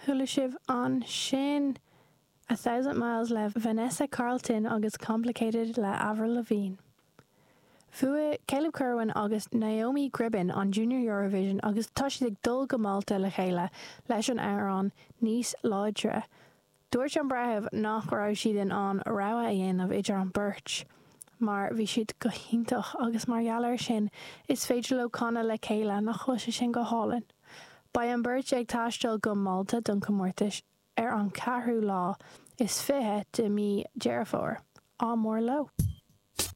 Chuala sibh ansin A Thousand Miles le Vanessa Carlton agus Complicated le Avril Lavigne. Bhuaigh Caleb Kerwin agus Naomi Gribbin an Junior Eurovision agus tá siad ag dul go Málta le chéile leis an amhrán Níos Láidre. Dúirt an breitheamh nach raibh siad in ann rogha a dhéanamh idir an beirt mar bhí siad go hiontach agus mar gheall air sin is féidir leo canadh le chéile, nach bhfuil sé sin go hálainn? Beidh an beirt ag taisteal go Málta don comórtas ar an ceathrú lá is 20 de mí Deireadh Fómhair. Ádh mór leo!